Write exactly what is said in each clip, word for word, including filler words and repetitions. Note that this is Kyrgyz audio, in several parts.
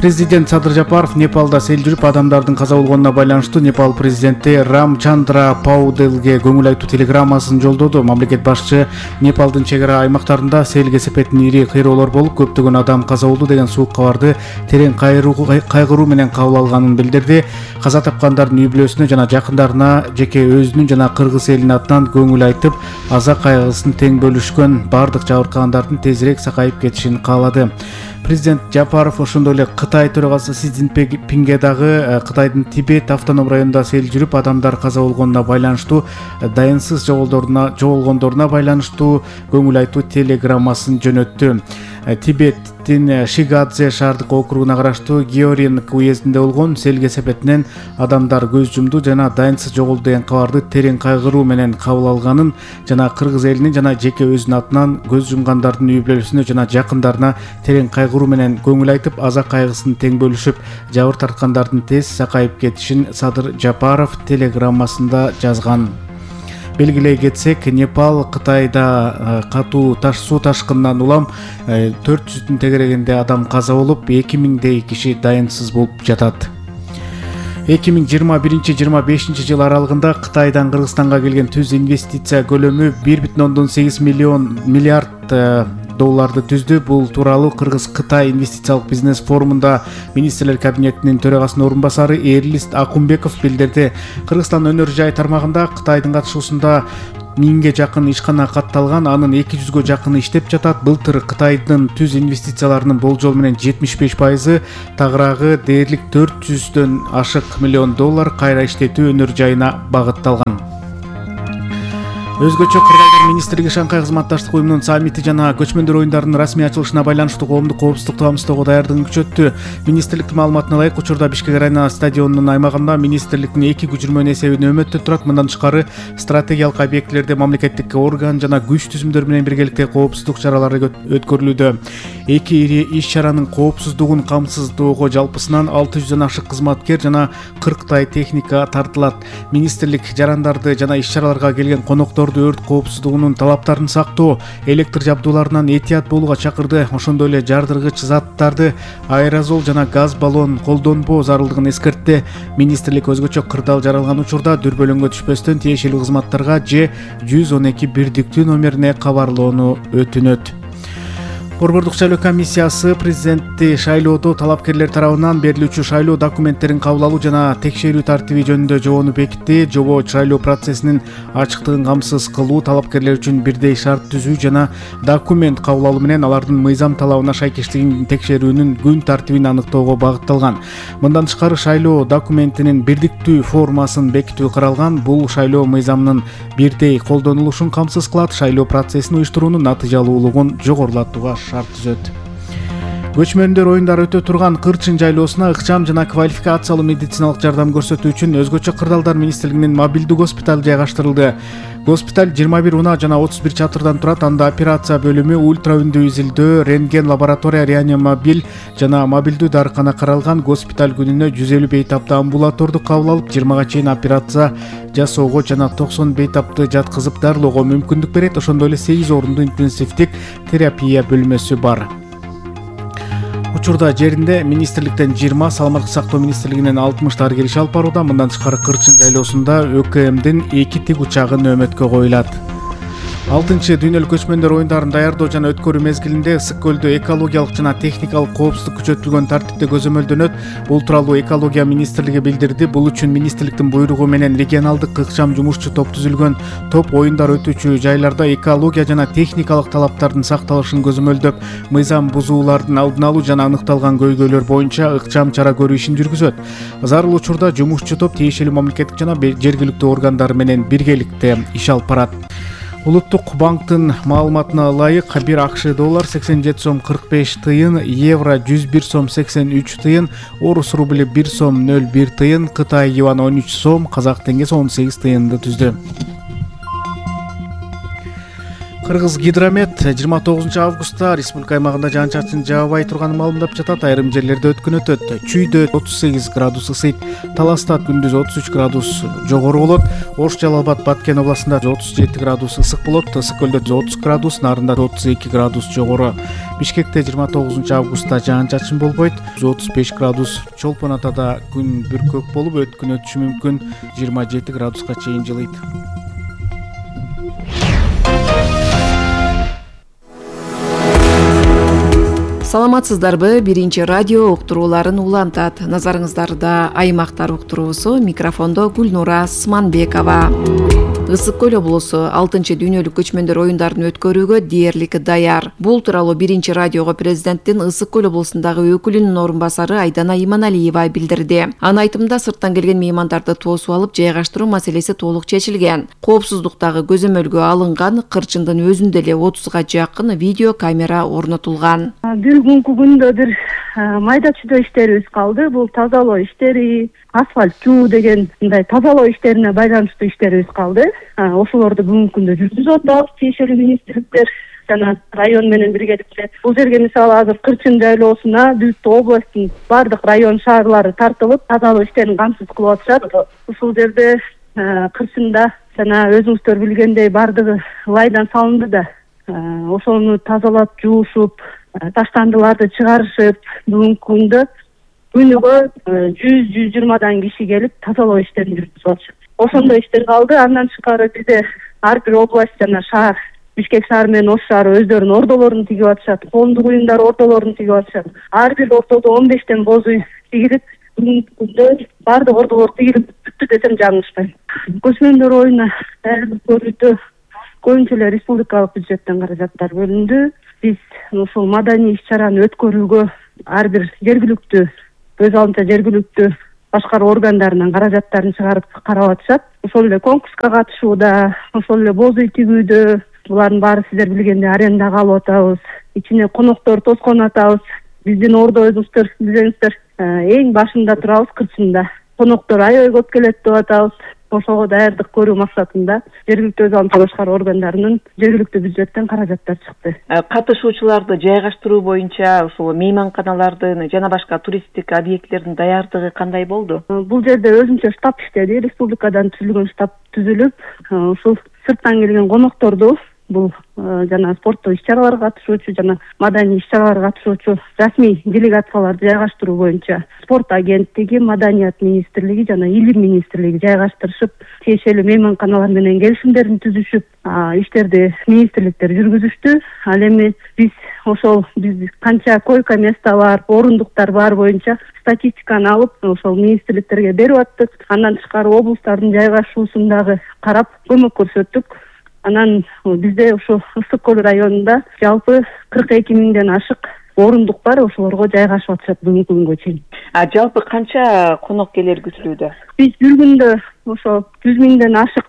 Президент Садыр Жапаров Непалда сел жүрүп адамдардын каза болгонуна байланыштуу Непал президенти Рамчандра Пауделге көңүл айтуу телеграммасын жолдоду. Мамлекет башчы Непалдын чек ара аймактарында сел кесепетин ири кыйроолор болуп, көптөгөн адам каза болду деген суук кабарды терең кайгыруу менен кабыл алганын билдирди. Каза тапкандардын үй бүлөсүнө жана жакындарына жеке өзүнүн жана кыргыз элинин атынан көңүл айтып, аза кайгысын тең бөлүшкөн, бардык жабыркагандардын тезирээк сакайып кетишин каалады. Президент Жапаров ошондой эле Кытай төрагасы Си Цзиньпинге дагы Кытайдын Тибет автоном районунда сел жүрүп адамдар каза болгонуна байланыштуу, дайынсыз жоголдоруна жоголгондоруна байланыштуу көңүл айтуу телеграммасын жөнөттү. Тибеттин Шигадзе шаардык округуна караштуу Георинг уездинде болгон сел кесепетинен адамдар көз жумду жана дайынсыз жоголду деген кабарды терең кайгыруу менен кабыл алганын жана кыргыз элинин жана жеке өзүнүн атынан көз жумгандардын үй бүлөсүнө жана жакындарына терең кайгыруу менен көңүл айтып, аза кайгысын тең бөлүшүп, жабыр тарткандардын тез сакайып кетишин Садыр Жапаров телеграммасында жазган. Белгилей кетсек, Непал Кытайда катуу таш суу ташкынынан улам төрт жүздүн тегерегинде адам каза болуп, эки миңдей киши дайынсыз болуп жатат. эки миң жыйырма биринчи жыйырма бешинчи жыл аралыгында Кытайдан Кыргызстанга келген түз инвестиция көлөмү бир бүтүн ондон сегиз миллион миллиард долларды түздү. Бул тууралуу Кыргыз-Кытай инвестициялык бизнес форумунда министрлер кабинетинин төрагасынын орун басары Эрлист Акунбеков билдирди. Кыргызстан өнөр жай тармагында Кытайдын катышуусунда миңге жакын ишкана катталган, анын эки жүзгө жакыны иштеп жатат. Былтыр Кытайдын түз инвестицияларынын болжол менен жетимиш беш пайызы, тагыраагы дээрлик төрт жүздөн ашык миллион доллар кайра иштетүү өнөр жайына багытталган. Өзгөчө Кыргызстан министрлиги Шанхай кызматташтык уюмунун саммити жана көчмөндөр оюндарынын расмий ачылышына байланыштуу коомдук коопсуздукту камсыздоого даярдыгын күчөттү. Министрликтин маалыматына ылайык, учурда Бишкек арена стадионунун аймагында министрликтин эки көчүрмөнү эсебинде өмөттө турат. Мындан тышкары, стратегиялык объектилерде мамлекеттик орган жана күч түзүмдөр менен биргеликте коопсуздук чаралары өткөрүлүүдө. Эки ири иш-чаранын коопсуздугун камсыздоого жалпысынан алты жүздөн ашык кызматкер жана кырктай техника тартылат. Министрлик жарандарды жана иш-чараларга келген коноктор өрт коопсуздугунун талаптарын сактоо, электр жабдууларынан этият болууга чакырды. Ошондой эле жардыргыч заттарды, аэрозол жана газ баллон колдонбоо зарылдыгын эскертти. Министрлик өзгөчө кырдаал жаралган учурда дүрбөлөңгө түшпөстөн тиешелүү кызматтарга же жүз он эки бирдиктүү номерине кабарлоону өтүнөт. Борбордук шайлоо комиссиясы президентти шайлоодо талапкерлер тарабынан берилүүчү шайлоо документтерин кабыл алуу жана текшерүү тартиби жөнүндө жобону бекитти. Жобо шайлоо процессинин ачыктыгын камсыз кылуу, талапкерлер үчүн бирдей шарт түзүү жана документ кабыл алуу менен алардын мыйзам талабына шайкештигин текшерүүнүн күн тартибин аныктоого багытталган. Мындан тышкары, шайлоо документинин бирдиктүү формасын бекитүү каралган. Бул шайлоо мыйзамынын бирдей колдонулушун камсыз кылат, шайлоо процессин уюштуруунун натыйжалуулугун жогорулатууга шарт түзөт. Көчмөндөр оюндары өтө турган Кырчын жайлоосуна ыкчам жана квалификациялуу медициналык жардам көрсөтүү үчүн өзгөчө кырдаалдар министрлигинин мобилдүү госпиталь жайгаштырылды. Госпиталь жыйырма бир унаа жана отуз бир чатырдан турат. Анда операция бөлүмү, ультра үндүү изилдөө, рентген лаборатория, реанимобиль жана мобилдүү дарыкана каралган. Госпиталь күнүнө жүз элүү бейтапты амбулатордук кабыл алып, жыйырмага чейин операция жасоого жана токсон бейтапты жаткызып дарылоого мүмкүндүк берет. Ошондой эле сегиз орундуу интенсивдик терапия бөлмөсү бар. Учурда жеринде министрликтен жыйырма, саламаттык сактоо министрлигинен алтымыштар келиши алып барууда. Мындан тышкары Кырчын жайлоосунда ÖКМдин эки тигучагы нөөмөткө коюлат. алтынчы дүйнөлүк көчмөндөр оюндарын даярдоо жана өткөрүү мезгилинде Ысык көлдө экологиялык жана техникалык коопсуздук күчөтүлгөн тартипте көзөмөлдөнөт. Бул тууралуу экология министрлиги билдирди. Бул үчүн министрликтин буйругу менен регионалдык ыкчам жумушчу топ түзүлгөн. Топ оюндар өтүүчү жайларда экология жана техникалык талаптардын сакталышын көзөмөлдөп, мыйзам бузуулардын алдын алуу жана аныкталган көйгөйлөр боюнча ыкчам чара көрүү ишин жүргүзөт. Зарыл учурда жумушчу топ тиешелүү мамлекеттик жана жергиликтүү органдар менен биргеликте иш алып барат. Улуттук банктын маалыматына ылайык, бир АКШ доллар сексен жети сом кырк беш тыйын, евро жүз бир сом сексен үч тыйын, орус рубли бир сом нөл бир тыйын, Кытай юаны он үч сом, казак теңгеси он сегиз тыйынды түздү. Кыргыз гидромет жыйырма тогузунчу августта республика аймагында жаан-чачын жаабай турганын маалымдап жатат. Айрым жерлерде өткүн өтөт. Чүйдө отуз сегиз градус ысыйт. Таласта күндүз отуз үч градус жогору болот. Ош, Жалал Абад, Баткен областында отуз жети градус ысык болот. Ысык көлдө отуз градус, Нарында отуз эки градус жогору. Бишкекте жыйырма тогузунчу августта жаан-чачын болбойт. отуз беш градус. Чолпон Атада күн бүркөк болуп өткүн өтүшү мүмкүн. жыйырма жети градуска чейин жылыйт. Саламатсыздарбы? Биринчи радио уктурууларын улантат. Назарыңыздарда аймактар уктуруусу, микрофондо Гүлнура Сманбекова. Ысык көл облусу алтынчы дүйнөлүк көчмөндөр оюндарын өткөрүүгө дээрлик даяр. Бул тууралуу биринчи радиого президенттин Ысык көл облусундагы өкүлүнүн орун басары Айдана Иманалиева билдирди. Анын айтымында сырттан келген меймандарды тосуп алып жайгаштыруу маселеси толук чечилген. Коопсуздуктагы көзөмөлгө алынган, кырчындын өзүндө эле отузга жакын видео камера орнотулган. Бир күнкү күндө бир майда чүйдө иштерибиз калды. Бул тазалоо иштери, асфальт жуу деген мындай тазалоо иштерине байланыштуу иштерибиз калды. Ошолорду бүгүнкү күндө жүргүзүп атабыз. Тиешелүү министрликтер жана район менен биргеликте. Бул жерге мисалы азыр Кырчын жайлоосуна бүт областтын бардык район шаарлары тартылып, тазалоо иштерин камсыз кылып атышат. Ушул жерде Кырчында жана өзүңүздөр билгендей бардыгы лайдан салынды да, ошону тазалап, жуушуп, таштандыларды чыгарышып, бүгүнкү күндө күнүгө жүз жүз жыйырмадан киши келип тазалоо иштерин жүргүзүп атышат. Ошондой иштер калды. Андан тышкары бизде ар бир область жана шаар, Бишкек шаары менен Ош шаары өздөрүнүн ордолорун тигип атышат. Коомдук уюмдар ордолорун тигип атышат. Ар бир ортодо он бештен боз үй тигилип, бүгүнкү күндө бардык ордолор тигилип бүттү десем жаңылышпайм. Көчмөндөр оюна даярдык көрүүдө көбүнчө эле республикалык бюджеттен каражаттар бөлүндү. Биз ушул маданий иш-чараны өткөрүүгө ар бир жергиликтүү, өз алдынча жергиликтүү башкаруу органдарынан каражаттарын чыгарып карап атышат. Ошол эле конкурска катышууда, ошол эле боз үй тигүүдө, булардын баары сиздер билгендей арендага алып атабыз. Ичине коноктор тоскон атабыз. Биздин ордо өзүңүздөр билесиңиздер, эң башында турабыз Кырчында. Коноктор аябай көп келет деп атабыз. Ошого даярдык көрүү максатында жергиликтүү өз алдынча башкаруу органдарынын жергиликтүү бюджеттен каражаттар чыкты. Катышуучуларды жайгаштыруу боюнча ушул мейманканалардын жана башка туристтик объекттердин даярдыгы кандай болду? Бул жерде өзүнчө штаб иштеди. Республикадан түзүлгөн штаб түзүлүп, ушул сырттан келген конокторду, бул жана спорттук иш-чараларга катышуучу жана маданий иш-чараларга катышуучу расмий делегацияларды жайгаштыруу боюнча спорт агенттиги, маданият министрлиги жана илим министрлиги жайгаштырышып, тиешелүү мейманканалар менен келишимдерин түзүшүп, иштерди министрликтер жүргүзүштү. Ал эми биз ошол биз канча койка место бар, орундуктар бар боюнча статистиканы алып, ошол министрликтерге берип аттык. Андан тышкары облустардын жайгашуусун дагы карап көмөк көрсөттүк. Анан бизде ошо Ысык көл районунда жалпы кырк эки миңден ашык орундук бар, ошолорго жайгашып атышат бүгүнкү күнгө чейин. А жалпы канча конок келер күтүлүүдө? Биз бир күндө ошо жүз миңден ашык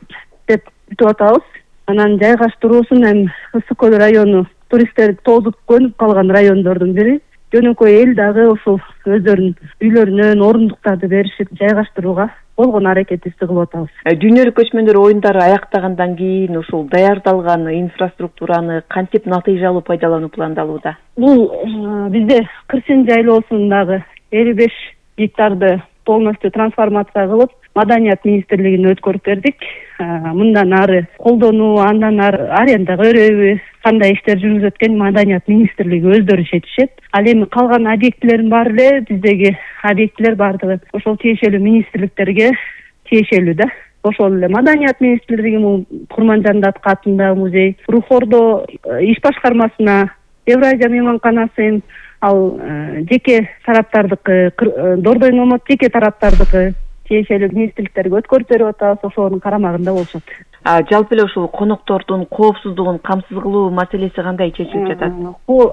деп күтүп атабыз. Анан жайгаштыруусун эми Ысык көл району туристтер тозуп көнүп калган райондордун бири. Жөнөкөй эл дагы ошол өздөрүнүн үйлөрүнөн орундуктарды беришип жайгаштырууга болгон аракетибизди кылып атабыз. Дүйнөлүк көчмөндөр оюндары аяктагандан кийин ушул даярдалган инфраструктураны кантип натыйжалуу пайдалануу пландалууда? Бул бизде Кырчын жайлоосундагы элүү беш гектарды полностью трансформация кылып, маданият министрлигине өткөрүп бердик. Мындан ары колдонуу, андан ары аренда көрөбү, кандай иштер жүргүзүп өткөн маданият министрлиги өздөрү чечишет. Ал эми калган объектилердин баары эле биздеги объектилер бардыгы ошол тиешелүү министрликтерге тиешелүү да. Ошол эле маданият министрлиги, Курманжан Датка атындагы музей, Рухордо иш башкармасына, Евразия мейманканасы, ал жеке тараптардыкы, Дордой Номот жеке тараптардыкы тиешелүү министрликтерге өткөрүп берип атабыз, ошонун карамагында болушат. А жалпы эле ушул коноктордун коопсуздугун камсыз кылуу маселеси кандай чечилип жатат?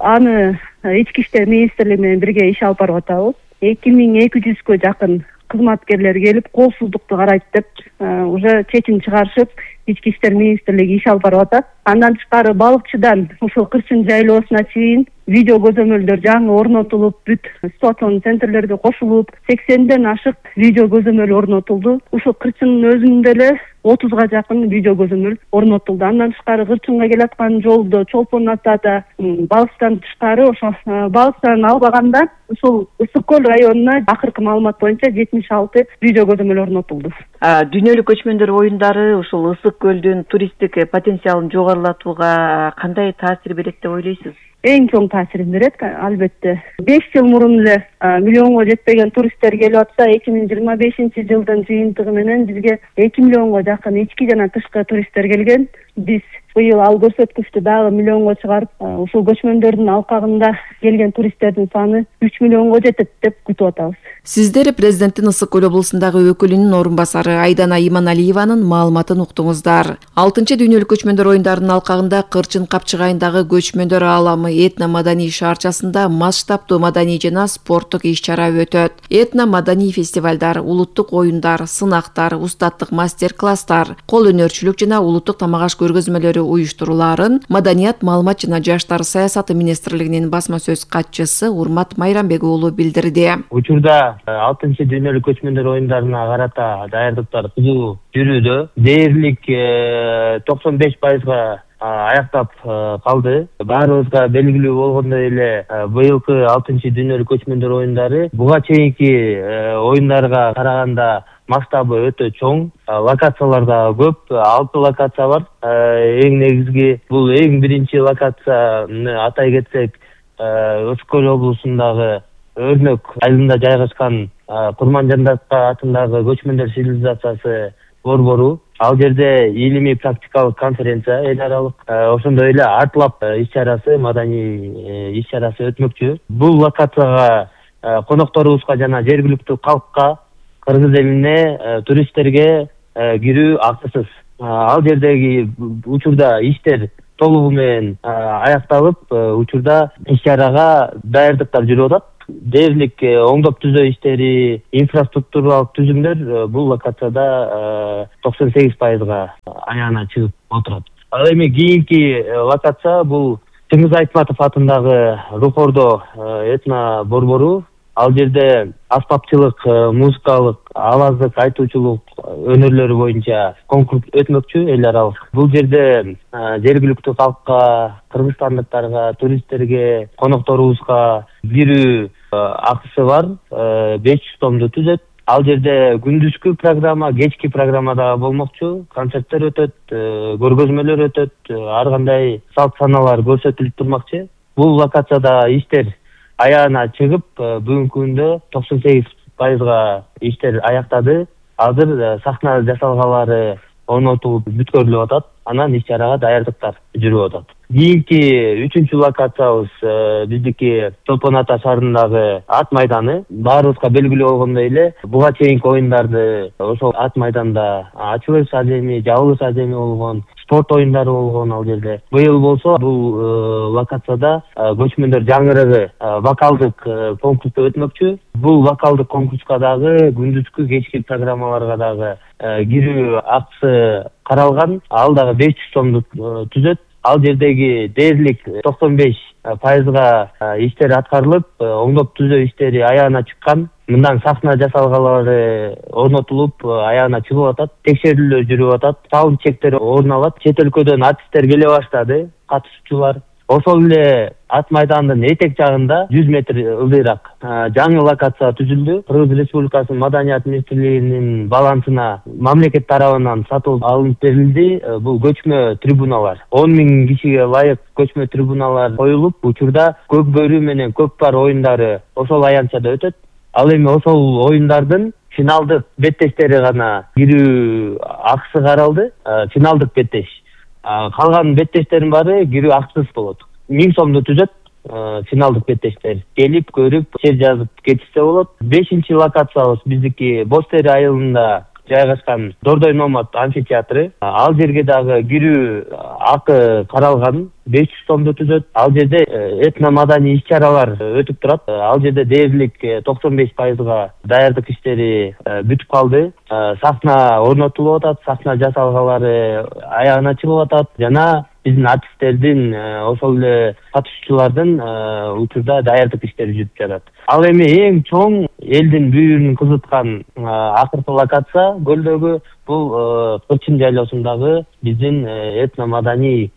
Аны ички иштер министрлиги менен бирге иш алып барып атабыз. эки миң эки жүзгө жакын кызматкерлер келип, коопсуздукту карайт деп уже чечим чыгарышып, ички иштер министрлиги иш алып барып атат. Андан тышкары балыкчыдан ушул Кырчын жайлоосуна чейин видео көзөмөлдөр жаңы орнотулуп, бүт ситуациялык центрлерге кошулуп, сексенден ашык видео көзөмөл орнотулду. Ушул Кырчындын өзүндө эле отузга жакын видео көзөмөл орнотулду. Андан тышкары Кырчынга келаткан жолдо Чолпон атада Балыстан тышкары ошо Балыстан албаганда ушул Ысык көл районуна акыркы маалымат боюнча жетимиш алты видео көзөмөл орнотулду. Дүйнөлүк көчмөндөр оюндары ушул Ысык көлдүн туристтик потенциалын жогорулатууга кандай таасир берет деп ойлойсуз? Эң чоң таасирин берет, албетте. беш жыл мурун эле миллионго жетпеген туристтер келип атса, эки миң жыйырма бешинчи жылдын жыйынтыгы менен бизге эки миллионго жакын ички жана тышкы туристтер келген. Биз быйыл ал көрсөткүчтү дагы миллионго чыгарып, ушул көчмөндөрдүн алкагында келген туристтердин саны үч миллионго жетет деп күтүп атабыз. Сиздер президенттин Ысык көл облусундагы өкүлүнүн орун басары Айдана Иманалиеванын маалыматын уктуңуздар. алтынчы дүйнөлүк көчмөндөр оюндарынын алкагында Кырчын капчыгайындагы көчмөндөр ааламы этно-маданий шаарчасында масштабтуу маданий жана спорттук иш-чара өтөт. Этно-маданий фестивалдар, улуттук оюндар, сынактар, устаттык мастер-класстар, кол өнөрчүлүк жана улуттук тамак аш көргөзмөлөрү уюштурулаарын Маданият, маалымат жана жаштар саясаты министрлигинин басма сөз катчысы Урмат Майрамбек уулу билдирди. Учурда алтынчы дүйнөлүк көчмөндөр оюндарына карата даярдыктар кызуу жүрүүдө. Дээрлик токсон беш пайызга аяктап калды. Баарыбызга белгилүү болгондой эле быйылкы алтынчы дүйнөлүк көчмөндөр оюндары буга чейинки оюндарга караганда масштабы өтө чоң, локациялар да көп, алты локация бар. Эң негизги бул эң биринчи локацияны атай кетсек, Ысык көл облусундагы Өрнөк айылында жайгашкан Курманжандатка атындагы көчмөндөр цивилизациясы борбору. Ал жерде илимий практикалык конференция эл аралык, ошондой эле артлап иш-чарасы, маданий иш-чарасы өтмөкчү. Бул локацияга конокторубузга жана жергиликтүү калкка, кыргыз элине, туристтерге кирүү акысыз. Ал жердеги учурда иштер толугу менен аякталып, учурда иш-чарага даярдыктар жүрүп атат. Дээрлик оңдоп түзөө иштери, инфраструктуралык түзүмдөр бул локацияда токсон сегиз пайызга аяна чыгып отурат. Ал эми кийинки локация бул Чыңгыз Айтматов атындагы Рухордо этно борбору. Ал жерде аспапчылык, музыкалык, аваздык, айтуучулук өнөрлөрү боюнча конкурс өтмөкчү эл аралык. Бул жерде жергиликтүү калкка, кыргызстандыктарга, туристтерге, конокторубузга кирүү акысы бар, беш жүз сомду түзөт. Ал жерде күндүзгү программа, кечки программа да болмокчу, концерттер өтөт, көргөзмөлөр өтөт, ар кандай салт саналар көрсөтүлүп турмакчы. Бул локацияда иштер аяна чыгып, бүгүнкү күндө токсон сегиз пайызга иштер аяктады. Азыр сахна жасалгалары орнотулуп бүткөрүлүп атат. Анан иш-чарага даярдыктар жүрүп атат. Кийинки үчүнчү локациябыз биздики Чолпон ата шаарындагы ат майданы. Баарыбызга белгилүү болгондой эле, буга чейинки оюндарды ошол ат майданда ачылыш адеми, жабылыш адеми болгон, спорт оюндары болгон ал жерде. Быйыл болсо бул локацияда көчмөндөр жаңырыгы вокалдык конкурс өтмөкчү. Бул вокалдык конкурска дагы күндүзгү, кечки программаларга дагы кирүү акысы каралган. Ал дагы беш жүз сомду түзөт. Ал жердеги дээрлик токсон беш пайызга иштер аткарылып, оңдоп түзөө иштери аягына чыккан. Мындан сахна жасалгалары орнотулуп, аягына чыгып атат. Текшерүүлөр жүрүп атат. Саунд чектер орун алат. Чет өлкөдөн артисттер келе баштады, катышуучулар. Ошол эле ат майдандын этек жагында жүз метр ылдыйраак жаңы локация түзүлдү. Кыргыз Республикасынын Маданият министрлигинин балансына мамлекет тарабынан сатып алынып берилди. Бул көчмө трибуналар. он миң кишиге ылайык көчмө трибуналар коюлуп, учурда көк бөрү менен көк пар оюндары ошол аянтчада өтөт. Ал эми ошол оюндардын финалдык беттештери гана кирүү акысы каралды. Финалдык беттеш. Калган беттештердин баары кирүү акысыз болот. миң сомду түзөт финалдык беттештер. Келип, көрүп, чек жазып кетишсе болот. Бешинчи локациябыз биздики Бостери айылында жайгашкан Дордой Номад амфитеатры. Ал жерге дагы кирүү акы каралган, беш жүз сомду түзөт. Ал жерде этно-маданий иш-чаралар өтүп турат. Ал жерде дээрлик токсон беш пайызга даярдык иштери бүтүп калды. Сахна орнотулуп атат, сахна жасалгалары аягына чыгып атат жана биздин артисттердин ошол эле катышуучулардын учурда даярдык иштери жүрүп жатат. Ал эми эң чоң элдин бүйүрүн кызыткан акыркы локация көлдөгү бул Кырчын жайлоосундагы биздин этно маданий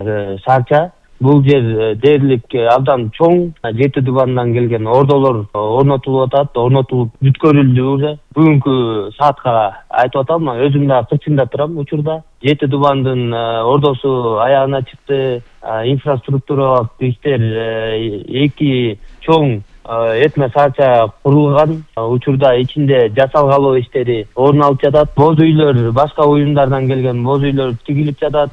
шаарча. Бул жер дээрлик абдан чоң, жети дубандан келген ордолор орнотулуп атат, орнотулуп бүткөрүлдү уже. Бүгүнкү саатка айтып атам, өзүм да Кырчында турам учурда. Жети дубандын ордосу аягына чыкты, инфраструктуралык иштер эки чоң этно шаарча курулган. Учурда ичинде жасалгалоо иштери орун алып жатат. Боз үйлөр, башка уюмдардан келген боз үйлөр тигилип жатат,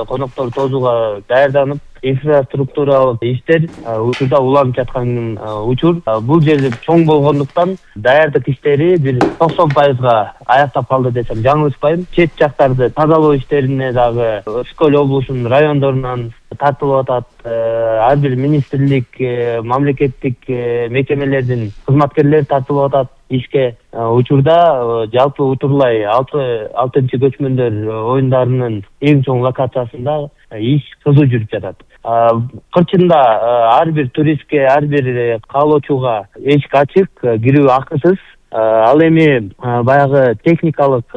коноктор тосууга даярданып, инфраструктуралык иштер учурда уланып жаткан учур. Бул жер чоң болгондуктан даярдык иштери бир токсон пайызга аяктап калды десем жаңылышпайм. Чет жактарды тазалоо иштерине дагы Ысык-Көл облусунун райондорунан тартылып атат. Ар бир министрлик, мамлекеттик мекемелердин кызматкерлери тартылып атат ишке. Учурда жалпы утурлай алтынчы көчмөндөр оюндарынын эң чоң локациясында иш кызуу жүрүп жатат. Кырчында ар бир туристке, ар бир каалоочуга эшик ачык, кирүү акысыз. Ал эми баягы техникалык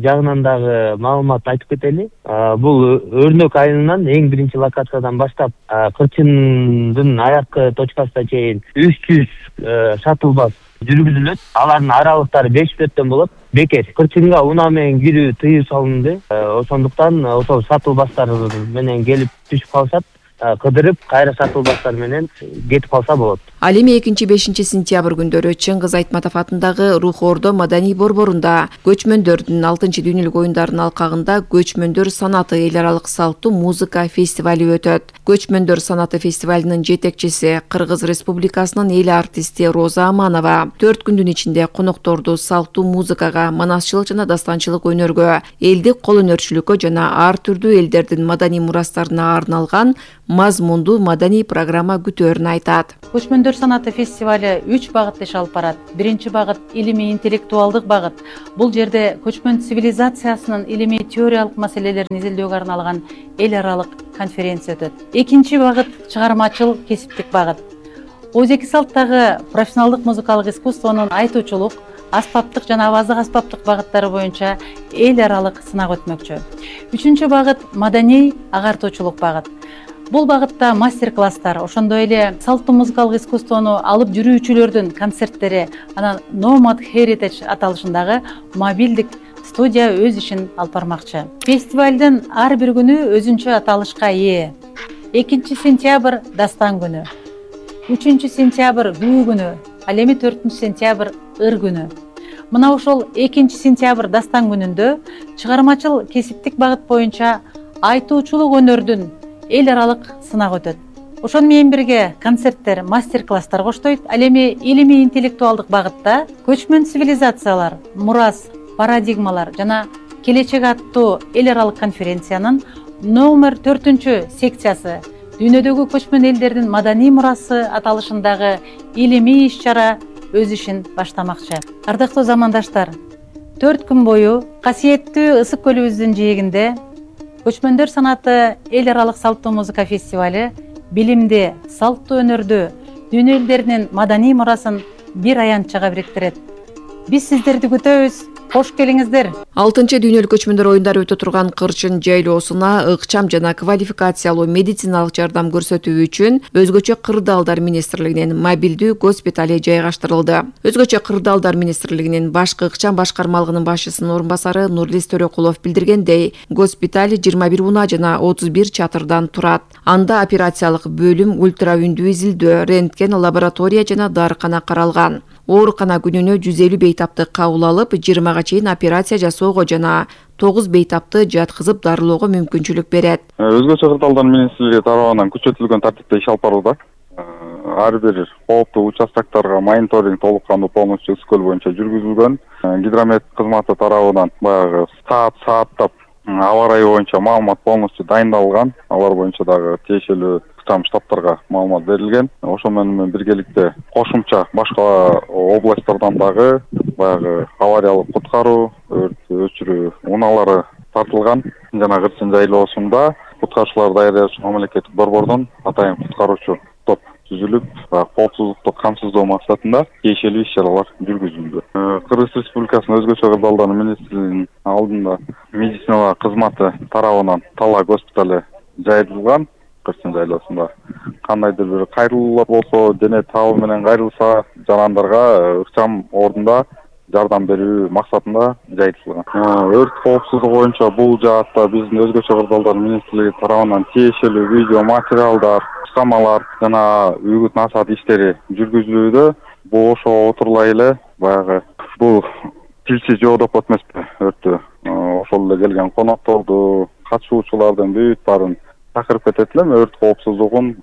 жагынан дагы маалымат айтып кетели. Бул Өрнөк айылынан эң биринчи локациядан баштап Кырчындын аяккы точкасына чейин үч жүз шаттл бас жүргүзүлөт. Алардын аралыктары беш мүнөттөн болот. Бекер Кырчынга унаа менен кирүү тыюу салынды. Ошондуктан ошол шаттл бастар менен келип түшүп калышат. Кыдырып, кайра шаттл бастар менен кетип калса болот. Ал эми экинчи бешинчи сентябрь күндөрү Чыңгыз Айтматов атындагы Рух Ордо маданий борборунда көчмөндөрдүн алтынчы дүйнөлүк оюндарынын алкагында Көчмөндөр санаты эл аралык салттуу музыка фестивали өтөт. Көчмөндөр санаты фестивалынын жетекчиси Кыргыз Республикасынын эл артисти Роза Аманова төрт күндүн ичинде конокторду салттуу музыкага, манасчылык жана дастанчылык өнөргө, элдик кол өнөрчүлүккө жана ар түрдүү элдердин маданий мурастарына арналган мазмундуу маданий программа күтөөрүн айтат. Көчмөндөр санаты фестивали үч багытта иш алып барат. Биринчи багыт илимий интеллектуалдык багыт. Бул жерде көчмөн цивилизациясынын илимий теориялык маселелерин изилдөөгө арналган эл аралык конференция өтөт. Экинчи багыт чыгармачыл кесиптик багыт. Өзеки салттагы профессионалдык музыкалык искусствонун айтуучулук, аспаптык жана аваздык аспаптык багыттары боюнча эл аралык сынак өтмөкчү. Үчүнчү багыт маданий агартуучулук багыт. Бул багытта мастер-класстар, ошондой эле салттуу музыкалык искусствону алып жүрүүчүлөрдүн концерттери, анан Nomad Heritage аталышындагы мобилдик студия өз ишин алып бармакчы. Фестивалдын ар бир күнү өзүнчө аталышка ээ. экинчи сентябрь дастан күнү, үчүнчү сентябрь күү күнү, ал эми төртүнчү сентябрь ыр күнү. Мына ошол экинчи сентябрь дастан күнүндө чыгармачыл кесиптик багыт боюнча айтуучулук өнөрдүн эл аралык сынак өтөт. Ошону менен бирге концерттер, мастер-класстар коштойт. Ал эми илимий интеллектуалдык багытта көчмөн цивилизациялар, мурас, парадигмалар жана келечек аттуу эл аралык конференциянын номер төртүнчү секциясы дүйнөдөгү көчмөн элдердин маданий мурасы аталышындагы илимий иш-чара өз ишин баштамакчы. Ардактуу замандаштар, төрт күн бою касиеттүү Ысык көлүбүздүн жээгинде Көчмөндөр санаты эл аралык салттуу музыка фестивали билимди, салттуу өнөрдү, дүйнө элдеринин маданий мурасын бир аянтчага бириктирет. Биз сиздерди күтөбүз. Кош келиңиздер. алтынчы дүйнөлүк көчмөндөр оюндары өтө турган Кырчын жайлоосуна ыкчам жана квалификациялуу медициналык жардам көрсөтүү үчүн өзгөчө кырдаалдар министрлигинин мобилдүү госпитали жайгаштырылды. Өзгөчө кырдаалдар министрлигинин башкы ыкчам башкармалыгынын башчысынын орун басары Нурлис Төрөкулов билдиргендей, госпиталь жыйырма бир унаа жана отуз бир чатырдан турат. Анда операциялык бөлүм, ультра үндүү изилдөө, рентген, лаборатория жана дарыкана каралган. Оорукана күнүнө жүз элүү бейтапты кабыл алып, жыйырмага чейин операция жасоого жана тогуз бейтапты жаткызып дарылоого мүмкүнчүлүк берет. Өзгөчө кырдаалдар министрлиги тарабынан күчөтүлгөн тартипте иш алып барууда. Ар бир кооптуу участоктарга мониторинг толук кандуу полностью Ысык көл боюнча жүргүзүлгөн. Гидромет кызматы тарабынан баягы саат сааттап аба ырайы боюнча маалымат полностью дайындалган. Алар боюнча дагы тиешелүү ыкчам штабтарга маалымат берилген. Ошол менен биргеликте кошумча башка областтардан дагы баягы авариялык куткаруу, өрт өчүрүү унаалары тартылган. Жана Кырчын жайлоосунда куткаруучуларды даярдаш үчүн мамлекеттик борбордон атайын куткаруучу топ түзүлүп, коопсуздукту камсыздоо максатында тиешелүү иш-чаралар жүргүзүлдү. Кыргыз Республикасынын өзгөчө кырдаалдар министрлигинин алдында медицина кызматы тарабынан Талаа госпиталы жайылган. Кырчын жайлоосунда кандайдыр бир кайрылуулар болсо, дене табы менен кайрылса, жарандарга ыкчам ордунда жардам берүү максатында жайылтылган. Өрт коопсуздугу боюнча бул жаатта биздин өзгөчө кырдаалдар министрлиги тарабынан тиешелүү видео материалдар, кускамалар жана үгүт насаат иштери жүргүзүлүүдө. Бул ошого отурлай эле баягы бул тилчи жоо деп атмаспы өрттү. Ошол эле келген конокторду, катышуучулардын бүт баарын чакырып кетет элем өрт коопсуздугун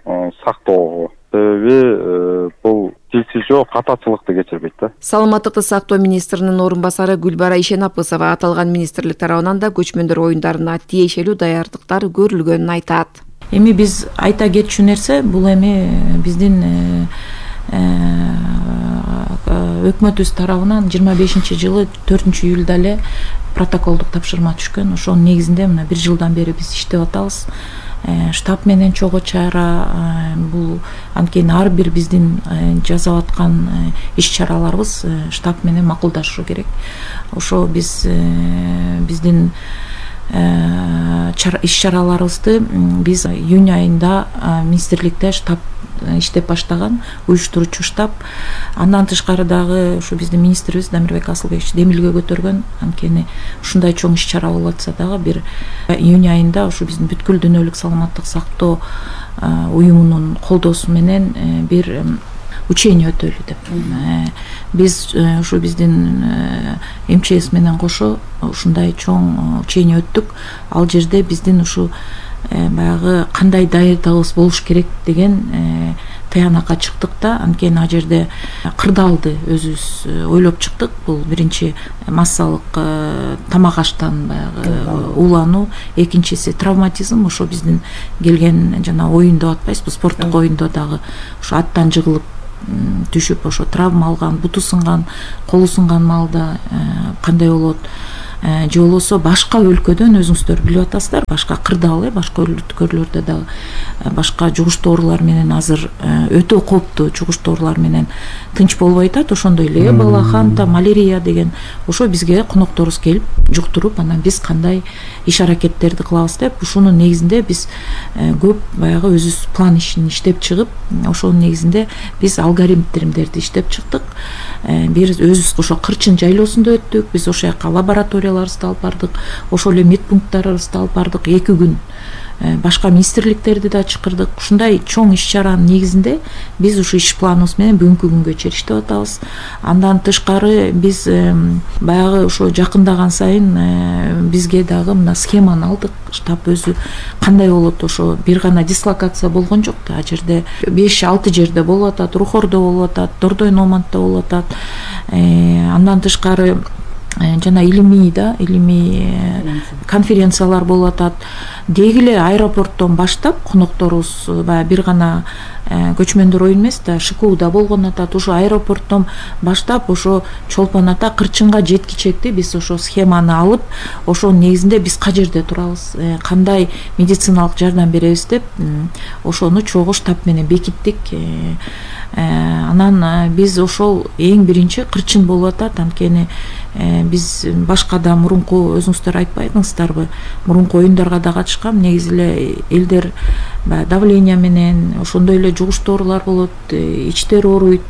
сактоого. Себеби бул тилчи жоо катачылыкты кечирбейт да. Саламаттыкты сактоо министринин орун басары Гүлбара Ишенапысова аталган министрлик тарабынан да көчмөндөр оюндарына тиешелүү даярдыктар көрүлгөнүн айтат. Эми биз айта кетчү нерсе бул эми биздин өкмөтүбүз тарабынан жыйырма бешинчи жылы төртүнчү июлда эле протоколдук тапшырма түшкөн. Ошонун негизинде мына бир жылдан бери биз иштеп атабыз. Штаб менен чогуу чара бул анткени ар бир биздин жасап аткан иш-чараларыбыз штаб менен макулдашышы керек. Ошо биз биздин иш-чараларыбызды биз июнь айында министрликте штаб иштеп баштаган, уюштуруучу штаб. Андан тышкары дагы ушу биздин министрибиз Дамирбек Асылбекович демилге көтөргөн. Анткени ушундай чоң иш-чара болуп атса дагы бир июнь айында ушу биздин бүткүл дүйнөлүк саламаттык сактоо уюмунун колдоосу менен бир учение өтөлү деп. Биз ушу биздин эм че эс менен кошо ушундай чоң учение өттүк. Ал жерде биздин ушу баягы кандай даярдыгыбыз болуш керек деген таянакка чыктык да. Анткени ал жерде кырдаалды өзүбүз ойлоп чыктык. Бул биринчи массалык тамак аштан баягы уулануу, экинчиси травматизм. Ошо биздин келген жана оюн деп атпайсызбы, спорттук оюндо дагы ушу аттан жыгылып түшүп ошо травма алган, буту сынган, колу сынган маалда кандай болот, же болбосо башка өлкөдөн өзүңүздөр билип атасыздар, башка кырдаал э башка өлкөлөрдө дагы башка жугуштуу оорулар менен азыр өтө кооптуу жугуштуу оорулар менен тынч болбой атат. Ошондой эле эбола, ханта, малярия деген ошо бизге конокторубуз келип жуктуруп, анан биз кандай иш-аракеттерди кылабыз деп ушунун негизинде биз көп баягы өзүбүз план ишин иштеп чыгып, ошонун негизинде биз алгоритмдерди иштеп чыктык. Бир өзүбүз ошо Кырчын жайлоосунда өттүк. Биз ошол жака лабораторияларыбызды алып бардык, ошол эле медпункттарыбызды алып бардык. эки күн башка министрликтерди да чакырдык. Ушундай чоң иш-чаранын негизинде биз ушу иш планыбыз менен бүгүнкү күнгө чейин иштеп атабыз. Андан тышкары биз баягы ошо жакындаган сайын бизге дагы мына схеманы алдык. Штаб өзү кандай болот, ошо бир гана дислокация болгон жок да. Ал жерде беш алты жерде болуп атат, Рухордо болуп атат, Дордой Номантта болуп атат. Андан тышкары жана илимий да, илимий конференциялар болуп атат. Деги эле аэропорттон баштап конокторубуз баягы бир гана көчмөндөр оюн эмес да, ШКУда болгон атат. Ошо аэропорттон баштап ошо Чолпон Ата, Кырчынга жеткичекти биз ошо схеманы алып, ошонун негизинде биз кай жерде турабыз, кандай медициналык жардам беребиз деп ошону чогуу штаб менен бекиттик. Анан биз ошол эң биринчи Кырчын болуп атат. Анткени биз башка да мурунку өзүңүздөр айтпайсыңыздарбы, мурунку оюндарга да катышкам. Негизи эле элдер давление менен ошондой эле жугуштуу оорулар болот, ичтери ооруйт,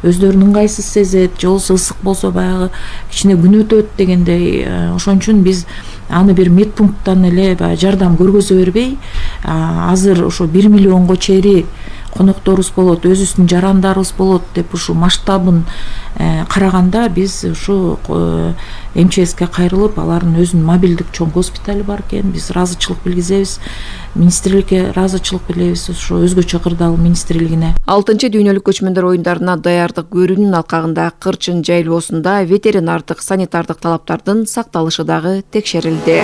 өздөрүн ыңгайсыз сезет, же болбосо ысык болсо баягы кичине күн өтөт дегендей. Ошон үчүн биз аны бир медпункттан эле баягы жардам көргөзө бербей, азыр ошо бир миллионго чейин конокторубуз болот, өзүбүздүн жарандарыбыз болот деп ушу масштабын караганда биз ушу эм че эске кайрылып, алардын өзүнүн мобилдик чоң госпитали бар экен. Биз ыраазычылык билгизебиз, министрликке ыраазычылык билдиребиз ошо өзгөчө кырдаал министрлигине. алтынчы дүйнөлүк көчмөндөр оюндарына даярдык көрүүнүн алкагында Кырчын жайлоосунда ветеринардык, санитардык талаптардын сакталышы дагы текшерилди.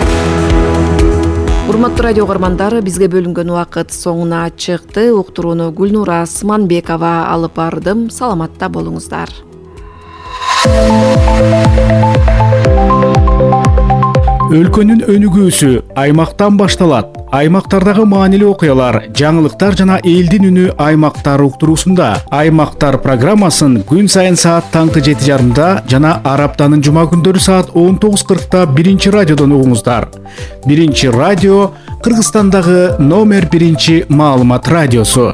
Урматтуу радио угармандар, бизге бөлүнгөн убакыт соңуна чыкты. Уктурууну Гүлнура Сманбекова алып бардым. Саламатта болуңуздар. Өлкөнүн өнүгүүсү аймактан башталат. Аймактардагы маанилүү окуялар, жаңылыктар жана элдин үнү аймактар уктуруусунда. Аймактар программасын күн сайын саат таңкы жети жарымда жана ар аптанын жума күндөрү саат он тогуз кыркта биринчи радиодон угуңуздар. Биринчи радио Кыргызстандагы номер биринчи маалымат радиосу.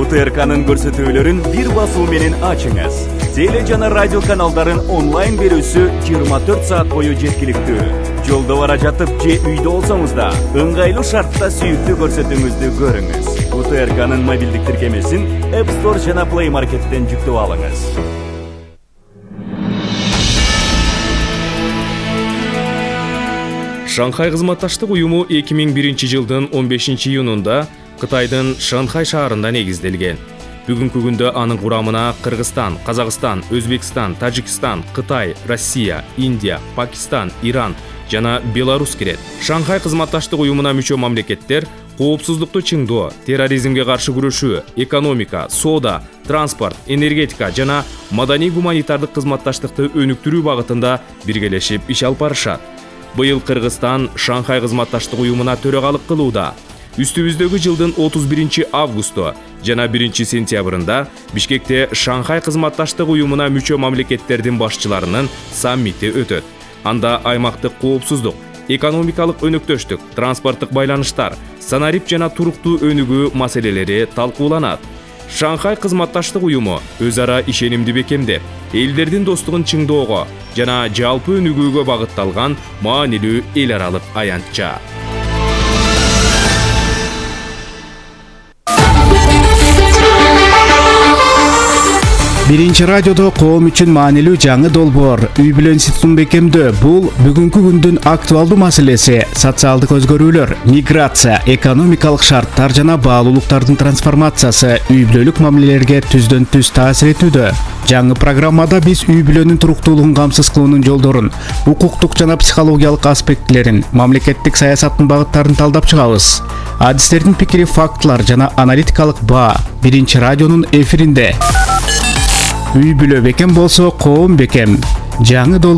УТРКнын көрсөтүүлөрүн бир басуу менен ачыңыз. Теле жана радио каналдарын онлайн берүүсү жыйырма төрт саат бою жеткиликтүү. Жолдо бара жатып же үйдө болсоңуз да ыңгайлуу шартта сүйүктүү көрсөтүүңүздү көрүңүз. УТРКнын мобилдик тиркемесин App Store жана Play Market'тен жүктөп алыңыз. Шанхай кызматташтык уюму эки миң биринчи жылдын он бешинчи июнунда Кытайдын Шанхай шаарында негизделген. Бүгүнкү күндө анын курамына Кыргызстан, Казакстан, Өзбекстан, Тажикстан, Кытай, Россия, Индия, Пакистан, Иран жана Беларусь кирет. Шанхай кызматташтык уюмуна мүчө мамлекеттер коопсуздукту чыңдоо, терроризмге каршы күрөшүү, экономика, соода, транспорт, энергетика жана маданий-гуманитардык кызматташтыкты өнүктүрүү багытында биргелешип иш алып барышат. Быйыл Кыргызстан Шанхай кызматташтык уюмуна төрөгалык кылууда. Үстүбүздөгү жылдын отуз биринчи августу жана биринчи сентябрында Бишкекте Шанхай кызматташтык уюмуна мүчө мамлекеттердин башчыларынын саммити өтөт. Анда аймактык коопсуздук, экономикалык өнөктөштүк, транспорттук байланыштар, санарип жана туруктуу өнүгүү маселелери талкууланат. Шанхай кызматташтык уюму өз ара ишенимди бекемдеп, элдердин достугун чыңдоого жана жалпы өнүгүүгө багытталган маанилүү эл аралык аянтча. Биринчи радиодо коом үчүн маанилүү жаңы долбоор үй бүлө институтун бекемдөө. Бул бүгүнкү күндүн актуалдуу маселеси. Социалдык өзгөрүүлөр, миграция, экономикалык шарттар жана баалуулуктардын трансформациясы үй бүлөлүк мамилелерге түздөн түз таасир этүүдө. Жаңы программада биз үй бүлөнүн туруктуулугун камсыз кылуунун жолдорун, укуктук жана психологиялык аспектилерин, мамлекеттик саясаттын багыттарын талдап чыгабыз. Адистердин пикири, фактылар жана аналитикалык баа биринчи радионун эфиринде. Үй бүлө бекем болсо, коом бекем. Жаңы